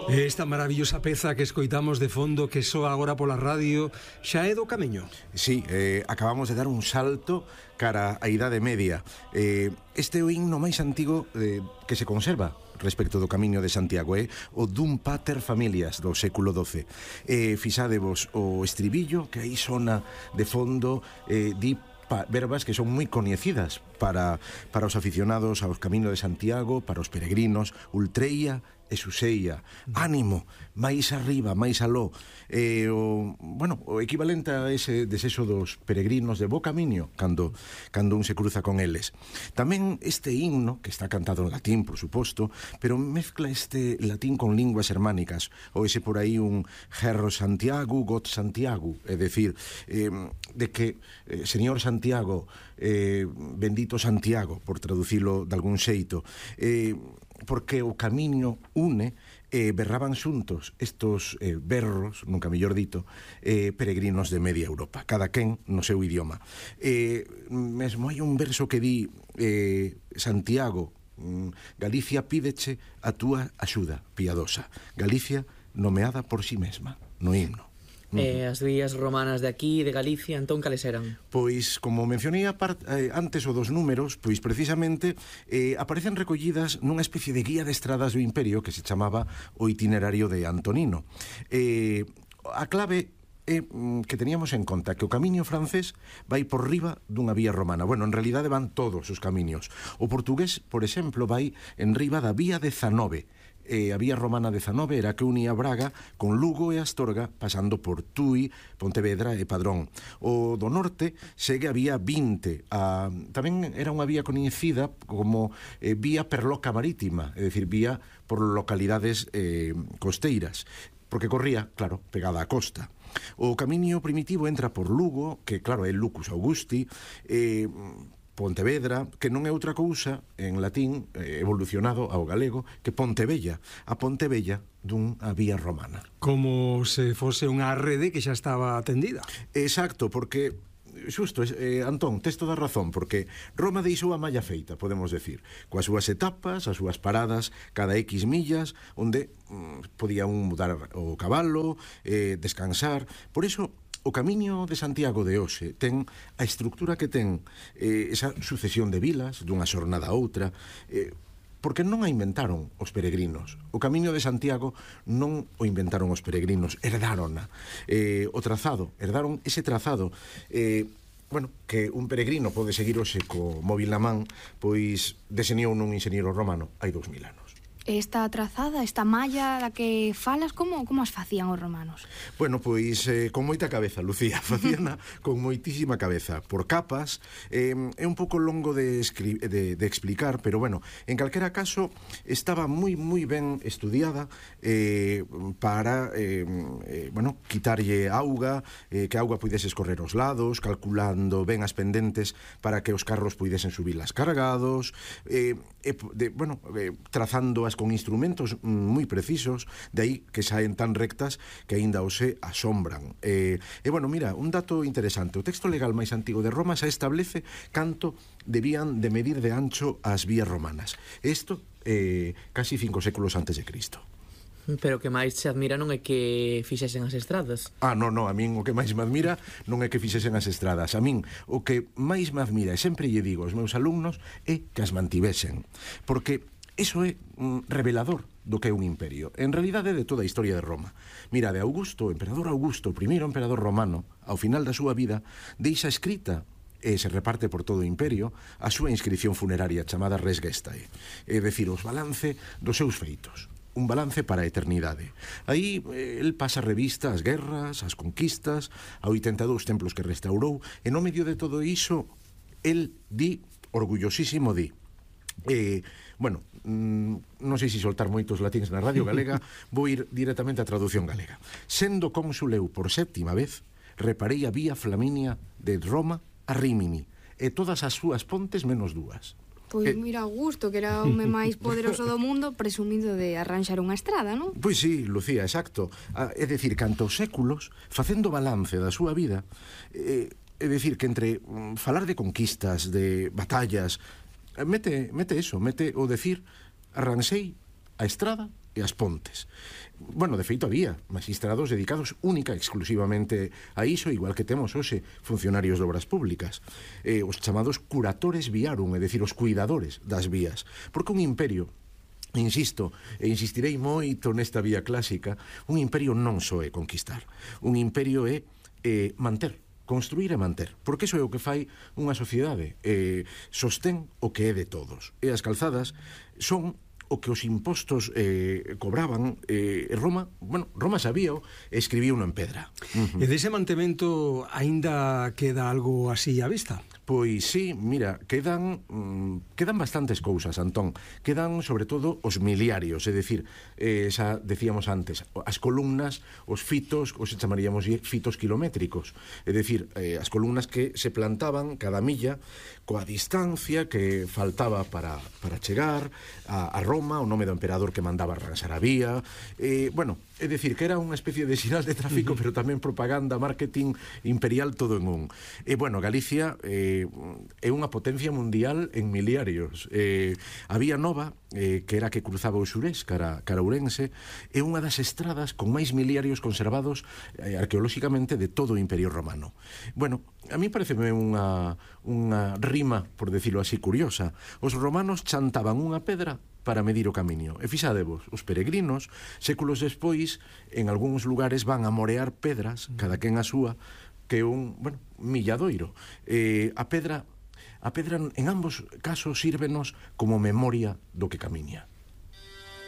Esta maravillosa peza que escoitamos de fondo que soa agora pola radio xa é do Camiño. Sí, acabamos de dar un salto cara á Idade Media. Este é o himno máis antigo que se conserva respecto do Camiño de Santiago, o Dum Pater Familias do século XII. Fixadevos o estribillo que aí sona de fondo, di verbas que son moi coñecidas para os aficionados aos Camiño de Santiago, para os peregrinos: ultreia e suseia, ánimo, máis arriba, máis aló. O equivalente a ese desexo dos peregrinos de bo camiño cando un se cruza con eles. Tamén este himno, que está cantado en latín, por suposto, pero mezcla este latín con linguas germánicas, ou ese por aí un Herro Santiago, Gott Santiago, é dicir, de que Señor Santiago, bendito Santiago, por traducilo de algún xeito, porque o camiño une, berraban xuntos estos berros, nunca mellor dito, peregrinos de media Europa, cada quen no seu idioma. Mesmo hai un verso que di: Santiago, Galicia pídeche a túa axuda piadosa. Galicia nomeada por si mesma no himno. As vías romanas de aquí, de Galicia, entón cales eran? Pois, como mencionei antes o dos números, pois precisamente aparecen recollidas nunha especie de guía de estradas do Imperio que se chamaba o Itinerario de Antonino. A clave é que teníamos en conta que o camiño francés vai por riba dunha vía romana. Bueno, en realidade van todos os camiños. O portugués, por exemplo, vai en riba da vía de Zanove. A vía romana de Zanove era que unía Braga con Lugo e Astorga, pasando por Tui, Pontevedra e Padrón. O do norte segue a vía 20. Tamén era unha vía coñecida como vía perloca marítima, é dicir, vía por localidades costeiras, porque corría, claro, pegada á costa. O camiño primitivo entra por Lugo, que claro é Lucus Augusti, Pontevedra, que non é outra cousa en latín evolucionado ao galego que Pontevella, a Pontevella dunha vía romana. Como se fose unha rede que xa estaba atendida. Exacto, porque xusto, Antón, tes toda a razón, porque Roma deixou a malla feita, podemos decir, coas súas etapas, as súas paradas cada X millas, onde podía un mudar o cabalo, descansar. Por iso o Camiño de Santiago de hoxe ten a estructura que ten, esa sucesión de vilas dunha xornada a outra, porque non a inventaron os peregrinos. O Camiño de Santiago non o inventaron os peregrinos, herdaron herdaron ese trazado, que un peregrino pode seguir hoxe co móvil na man, pois deseñou nun enxeñeiro romano hai 2000 anos. Esta trazada, esta malla da que falas, como as facían os romanos? Bueno, pois con moita cabeza, Lucía, facíana con moitísima cabeza, por capas. É un pouco longo de explicar, pero bueno, en calquera caso estaba moi ben estudiada para quitarlle auga, que a auga puidese escorrer aos lados, calculando ben as pendentes para que os carros puidesen subilas cargados, trazando as con instrumentos moi precisos, de aí que saen tan rectas que aínda hoxe asombran. Mira, un dato interesante: o texto legal máis antigo de Roma xa establece canto debían de medir de ancho as vías romanas. Isto casi 5 séculos antes de Cristo. Pero o que máis se admira non é que fixesen as estradas. Non, a min o que máis me admira non é que fixesen as estradas. A min o que máis me admira, e sempre lle digo aos meus alumnos, é que as mantivesen. Porque iso é revelador do que é un imperio. En realidade de toda a historia de Roma. Mira, de Augusto, o emperador Augusto, o primeiro emperador romano, ao final da súa vida, deixa escrita e se reparte por todo o imperio a súa inscripción funeraria chamada Res Gestae, é dicir, os balance dos seus feitos, un balance para a eternidade. Aí el pasa revista as guerras, as conquistas, a 82 templos que restaurou, e no medio de todo iso el di, orgullosísimo di, non sei se soltar moitos latíns na radio galega, vou ir directamente á traducción galega. Sendo cónsul eu por 7ª vez, reparei a vía Flaminia de Roma a Rímini, e todas as súas pontes menos 2. Pois mira, Augusto, que era o home máis poderoso do mundo, presumido de arranxar unha estrada, non? Pois sí, Lucía, exacto. É dicir, cantos séculos, facendo balance da súa vida, é dicir, que entre falar de conquistas, de batallas, mete o decir: arranxei a estrada e as pontes. Bueno, de feito había magistrados dedicados única e exclusivamente a iso, igual que temos hoxe funcionarios de obras públicas, os chamados curatores viarum, é dicir, os cuidadores das vías, porque un imperio, insisto, e insistirei moito nesta vía clásica, un imperio non só é conquistar, un imperio é manter, construir e manter, porque iso é o que fai unha sociedade, sostén o que é de todos, e as calzadas son o que os impostos cobraban. Roma sabíao e escribíuno en pedra. E dese mantemento aínda queda algo así á vista? Pois sí, mira, quedan bastantes cousas, Antón. Quedan, sobre todo, os miliarios, é dicir, xa decíamos antes, as columnas, os fitos, os chamaríamos fitos kilométricos, é dicir, as columnas que se plantaban cada milla coa distancia que faltaba para chegar a Roma, o nome do emperador que mandaba arranxar a vía, bueno, é dicir, que era unha especie de sinal de tráfico, pero tamén propaganda, marketing imperial, todo en un. E, bueno, Galicia é unha potencia mundial en miliarios. A Vía Nova, que era que cruzaba o Xurés cara Ourense, é unha das estradas con máis miliarios conservados arqueolóxicamente de todo o Imperio Romano. Bueno, a mí pareceme unha rima, por decirlo así, curiosa. Os romanos chantaban unha pedra para medir o camiño. E fixadevos, os peregrinos, séculos despois, en algúns lugares van a morear pedras, cada quen a súa, que é un, bueno, milladoiro. A pedra en ambos casos sírvenos como memoria do que camiña.